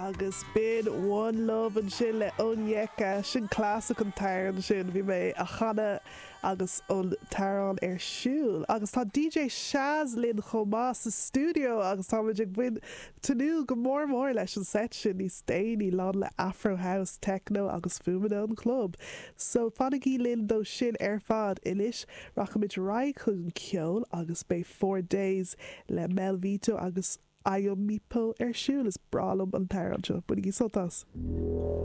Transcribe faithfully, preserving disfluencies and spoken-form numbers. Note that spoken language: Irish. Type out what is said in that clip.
Agus b'in One Love ansin le Onyeka sin clasach an t-amhrán sin bhí mé á chanadh agus an t-amhrán ar siúl. Agus tá DJ Shaz linn chomh maith sa stiúideo agus táimid ag bain tnúth go mór mór leis an set sin níos déanaí lán le Afro House, Techno agus fuaimeanna an club. So fanaigí linn dó sin ar fad anois rachaimid ar aghaidh chun ceol agus beidh Four Days le Mel Vito agus Ayomipo ar siúl is breá liom an t-amhrán seo, bainigí sult as.